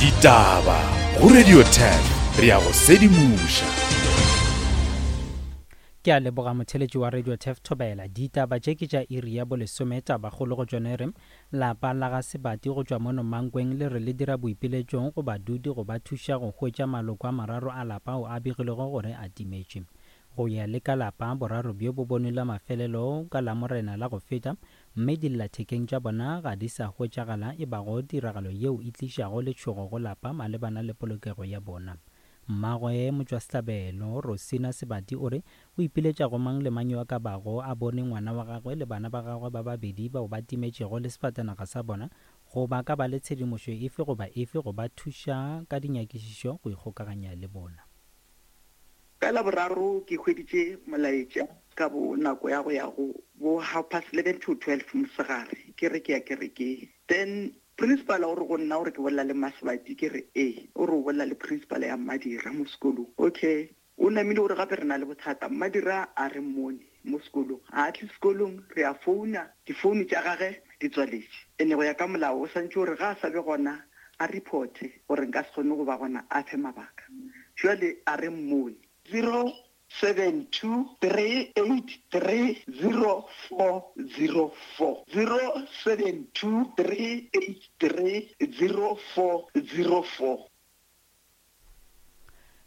Ditaba go Radio 10 re ya go sedimoša. Ke a leboga motheletši wa Radio Tef Thobela. Ditaba tše ke tša iri ya bolesome. Tabakgolo go tšona e re, Lapa la ga Sebati go tšwa mono Mankweng le re le dira boipiletšong go badudi go ba thuša go hwetša maloko a mararo a lapa ao a begilwego gore a timetše. Go ya le ka lapa, boraro bjo bo bonwe la mafelelo ka Lamorena la go feta, mme dillathekeng tša bona ga di sa hwetšagala e bago tiragalo yeo e tlišago letšhogo go lapa malebana le polokego ya bona. Mmagwe motšwasehlabelo, Rosina Sebati o re o ipiletša go mang le mang yo a ka bago a bone ngwana wa gagwe le bana ba gagwe ba babedi bao ba timetšego le sefatanaga sa bona goba ka ba le tshedimošo efe goba efe go ba thuša ka dinyakišišo go ikgokaganya le bona. Ka Laboraro ke hweditše molaetša ka bo nako ya go ya go bo half past eleven to twelve mosegare ke re ke ya kerekeng. Then principal o re go nna o re ke bolela le Mmasebati ke re ee, o re o bolela le principal ya Mmadira mo sekolong. Okay, o namile o re gape re na le bothata Mmadira a re mmone mo sekolong, ga a tle sekolong re a founa difounu tša gage di tswaletše. Ene go ya ka molao o swantše gore ga a sa be gona a reporte gore nka se kgone go ba gona a fe mabaka. Jwale a re mmone. 072 383 0404. 072 383 0404.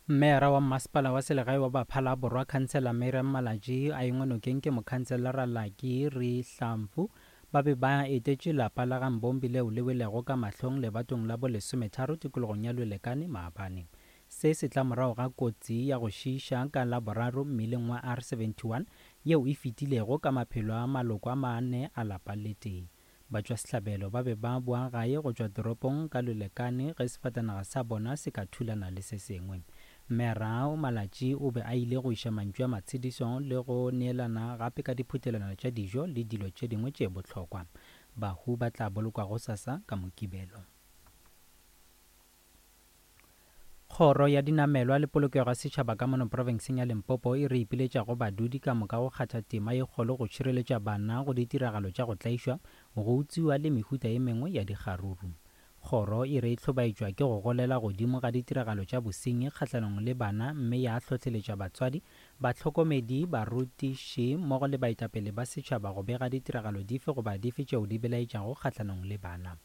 Meyara wa Mmasepala wa Selegae wa Baphala Borwa Khansela Mirriam Malatji a engwe nokeng ke mokhanselara Lucky Rihlamfu ba be ba etetše lapa la ga Mbombi leo le welego ka mahlong lebatong la bo lesometharo tikologong ya Lwelekane maabane. Se se tla morago ga kotsi ya go šiiša ka Laboraro mmileng wa R71 yeo e fetilego ka maphelo a maloko a mane a lapa le tee. Batšwasehlabelo ba be ba boa gae go tšwa toropong ka lolekane ge sefatanaga sa bona se ka thulana le se sengwe. Mme Rao Malatji o be a ile go iša mantšu a matshediso le go neelana gape ka diphutelwana tša dijo le dilo tše dingwe tše bohlokwa. Bahu ba tla bolokwa gosasa ka Mokibelo. Kgoro ya Dinamelwa le Polokego ya Setšhaba ka mono profenseng ya Limpopo e re ipiletša go badudi ka moka go kgatha tema ye kgolo go tšhireletša bana go ditiragalo tša go tlaišwa, go utswiwa le mehuta ye mengwe ya dikgaruru. Kgoro e re e hlobaetšwa ke go golela godimo ga ditiragalo tša bosenyi kgahlanong le bana mme ya hlohleletša batswadi, bahlokomedi, barutiši mmogo le baetapele ba setšhaba go bega ditiragalo dife goba dife tšeo di belaetšago kgahlanong le bana.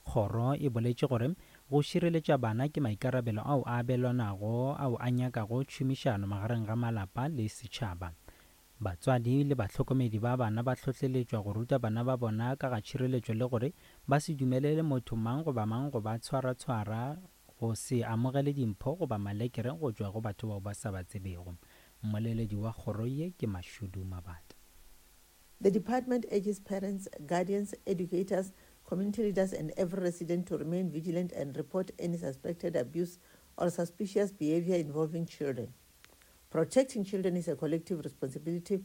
Kgoro e boletše gore go šireletša bana ke maikarabelo ao a abelwanago ao a nyakago tšhomišano magareng ga malapa le setšhaba. Batswadi le bahlokomedi ba bana ba hlohleletšwa go ruta bana ba bona ka ga tšhireletšo le gore ba se dumelele motho mang goba mang go ba tshwaratshwara, go se amogele dimpho goba malekere go tšwa go batho bao ba sa ba tsebego. Mmoleledi wa kgoro ye ke Mashudu Mabata. The department urges parents, guardians, educators, community leaders and every resident to remain vigilant and report any suspected abuse or suspicious behavior involving children. Protecting children is a collective responsibility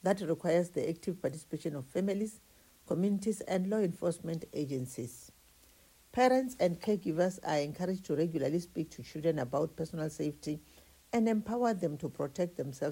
that requires the active participation of families, communities and law enforcement agencies. Parents and caregivers are encouraged to regularly speak to children about personal safety and empower them to protect themselves.